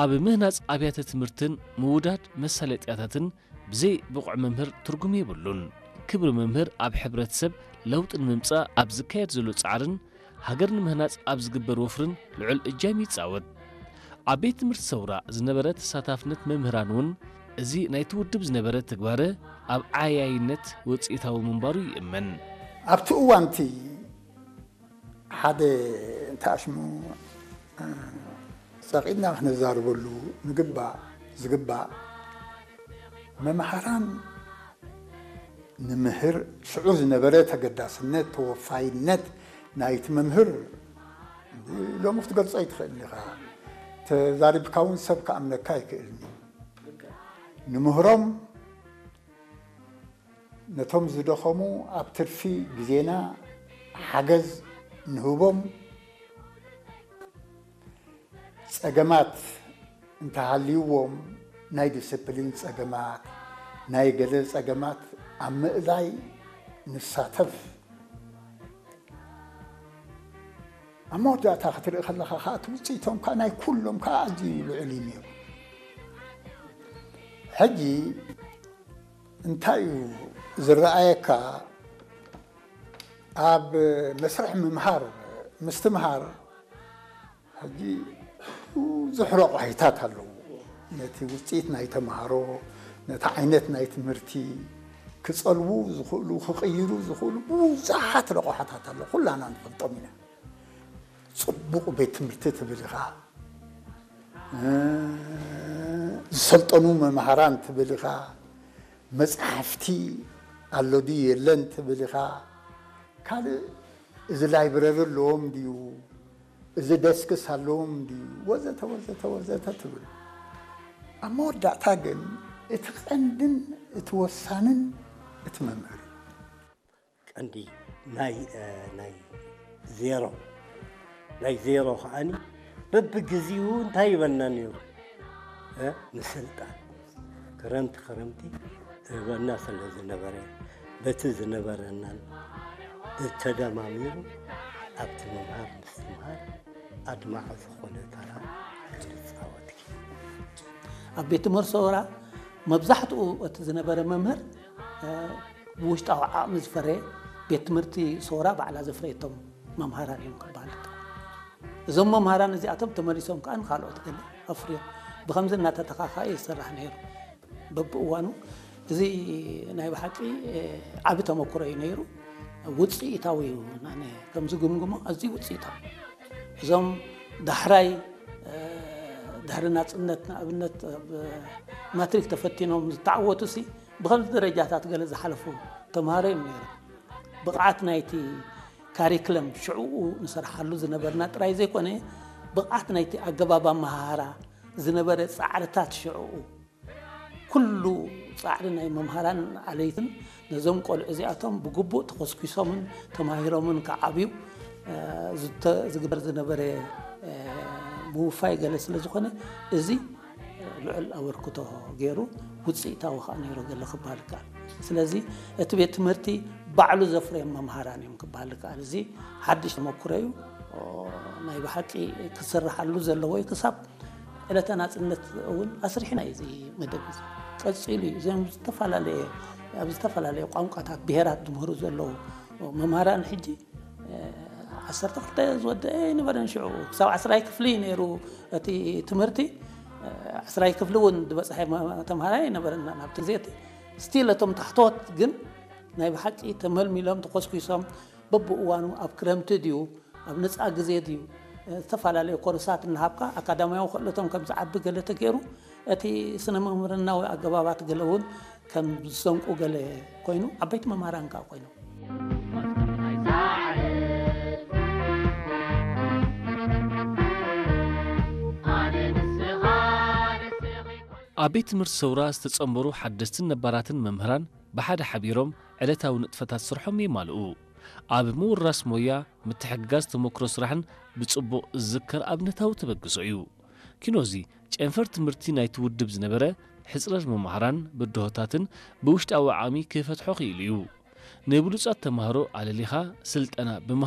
ኣብ ምህናጽ ኣብያተ ትምህርትን ምውዳድ መሳለጥያታትን ብዘይ ብቑዕ መምህር ትርጉም የብሉን። ክብሪ መምህር ኣብ ሕብረተሰብ ለውጢ ንምምጻእ ኣብ ዝካየድ ዘሎ ጻዕርን ሃገር ንምህናጽ ኣብ ዝግበር ወፍርን ልዑል እጃም ይጻወት። ኣብ ቤት ትምህርቲ ሰውራ ዝነበረ ተሳታፍነት መምህራን እውን እዚ ናይቲ ውድብ ዝነበረ ትግባረ ኣብ ዓያይነት ውጽኢታዊ ምንባሩ ይእመን። ኣብቲ እዋንቲ ሓደ እንተኣሽሙ ጸቒጥና ክነዛርበሉ ንግባእ ዝግባእ መምሃራን ንምህር ሽዑ ዝነበረ ተገዳስነት ተወፋይነት ናይቲ መምህር ሎሚ ክትገልጾ ኣይትኽእልን ኢኻ። ተዛሪብካ እውን ሰብ ክኣምነካ ኣይክእልን እዩ። ንምህሮም ነቶም ዝደኸሙ ኣብ ትርፊ ግዜና ሓገዝ ንህቦም። ጸገማት እንተሃልይዎም ናይ ዲስፕሊን ጸገማት፣ ናይ ገለ ጸገማት ኣብ ምእላይ ንሳተፍ። ኣብ መወዳእታ ክትርኢ ከለኻ ከኣ እቲ ውጽኢቶም ከኣ ናይ ኩሎም ከኣ ኣዝዩ ልዑል እዩ ነይሩ። ሕጂ እንታይ እዩ ዝረኣየካ? ኣብ መስርሕ ምምሃር ምስትምሃር ሕጂ ብዙሕ ረቑሒታት ኣለዉ። ነቲ ውጽኢት ናይ ተምሃሮ፣ ነቲ ዓይነት ናይ ትምህርቲ ክጸልዉ ዝኽእሉ፣ ክቕይሩ ዝኽእሉ ብዙሓት ረቑሓታት ኣለዉ። ኩላና ንፈልጦም ኢና። ጽቡቕ ቤት ትምህርቲ ትብል ኢኻ፣ እ፣ ዝሰልጠኑ መምሃራን ትብል ኢኻ፣ መጻሕፍቲ ኣሎ ድዩ የለን ትብል ኢኻ፣ ካልእ እዚ ላይብረሪ ኣለዎም ድዩ፣ እዚ ደስክስ ኣለዎም ድዩ፣ ወዘተ ወዘተ ወዘተ ትብል። ኣብ መወዳእታ ግን እቲ ቀንድን እቲ ወሳንን እቲ መምህር እዩ። ቀንዲ ናይ፣ እ፣ ናይ ዜሮ፣ ናይ ዜሮ ከዓኒ በብግዜኡ እንታይ ይበና ነይሩ? እ፣ ንስልጣን ክረምቲ ክረምቲ እህበና ስለ ዝነበረ፣ በቲ ዝነበረናን ብተደማሚሩ ኣብቲ ምምሃር ምስትምሃር ኣድማዒ ዝኾነ ተራ ክንጻወት። ኣብ ቤት ትምህርቲ ሰውራ መብዛሕትኡ እቲ ዝነበረ መምህር፣ እ፣ ብውሽጣዊ ዓቕሚ ዝፈረየ፣ ቤት ትምህርቲ ሰውራ ባዕላ ዘፍረየቶም መምሃራን እዮም ክበሃል ይከኣል። እዞም መምሃራን እዚኣቶም ተመሊሶም ከኣ ንኻልኦት ገለ ኣፍርዮም። ብኸምዚ እናተተኻኸኣ እዩ ዝስራሕ ነይሩ። በብእዋኑ እዚ ናይ ብሓቂ፣ እ፣ ዓቢ ተመክሮ እዩ ነይሩ። ውጽኢታዊ እዩ። ኣነ ከም ዝግምግሞ ኣዝዩ ውጽኢታዊ። እዞም ዳሕራይ፣ እ፣ ድሕሪ ናጽነት ንኣብነት ኣብ ማትሪክ ተፈቲኖም ዝተዓወቱሲ ብኸምዚ ደረጃታት ገለ ዝሓለፉ ተምሃሮ እዮም ነይሮም። ብቕዓት ናይቲ ካሪክለም ሽዕኡ ንሰርሓሉ ዝነበርና ጥራይ ዘይኮነ፣ ብቕዓት ናይቲ ኣገባብ ኣመሃህራ ዝነበረ ጻዕርታት ሽዕኡ፣ ኩሉ ጻዕሪ ናይ መምሃራን ኣለይትን ነዞም ቆልዑ እዚኣቶም ብግቡእ ተኾስኲሶምን ተማሂሮምን ክዓብዩ፣ እ፣ ዝተ-፣ ዝግበር ዝነበረ፣ እ፣ ምውፋይ ገለ ስለ ዝኾነ፣ እዚ ልዑል ኣበርክቶ ገይሩ፣ ውጽኢታዊ ከኣ ነይሩ ገለ ክበሃል ይከኣል። ስለዚ እቲ ቤት ትምህርቲ ባዕሉ ዘፍረዮም መምሃራን እዮም ክበሃል ይከኣል። እዚ ሓድሽ ተመኩሮ እዩ። ኦ፣ ናይ ብሓቂ ክስርሓሉ ዘለዎ እዩ። ክሳብ ዕለተ ናጽነት እውን ኣስሪሕና እዩ እዚ መደብ እዚ። ቀጺሉ እዩ። እዞም ዝተፈላለየ፣ ኣብ ዝተፈላለየ ቋንቋታት ብሄራት ዝምህሩ ዘለዉ መምሃራን ሕጂ፣ እ፣ ዓሰርተ ክልተ ዝወደአ ኣይነበረን ሽዑ። ክሳብ ዓስራይ ክፍሊ እዩ ነይሩ እቲ ትምህርቲ። እ፣ ዓስራይ ክፍሊ እውን ዝበጽሐ መ-፣ ተምሃራይ ኣይነበረን ናብቲ ግዜ እቲ። ስቲል እቶም ታሕተዎት ግን ናይ ብሓቂ ተመልሚሎም ተኾስኲሶም በብእዋኑ ኣብ ክረምቲ ድዩ ኣብ ነጻ ግዜ ድዩ፣ እ፣ ዝተፈላለዩ ኮርሳት እናሃብካ ኣካዳሚያዊ ክእለቶም ከም ዝዓቢ ገለ ተገይሩ፣ እቲ ስነ መምህርናዊ ኣገባባት ገለ እውን ከም ዝሰንቁ ገለ ኮይኑ፣ ዓበይቲ መምህራን ከኣ ኮይኖም። ኣብ ቤት ትምህርቲ ሰውራ ዝተጸንበሩ ሓደስትን ነባራትን መምህራን ብሓደ ሓቢሮም ዕለታዊ ንጥፈታት ስርሖም የማልኡ። ኣብ ምውራስ ሞያ ምትሕግጋዝ ተመክሮ ስራሕን ብጽቡቕ ዝዝከር ኣብነታዊ ተበግሶ እዩ። ኪኖዚ ጨንፈር ትምህርቲ ናይቲ ውድብ ዝነበረ ሕጽረት መምሃራን ብድሆታትን ብውሽጣዊ ዓቕሚ ክፈትሖ ክኢሉ እዩ። ንብሉጻት ተማሃሮ ኣለሊኻ ስልጠና ብምሃብ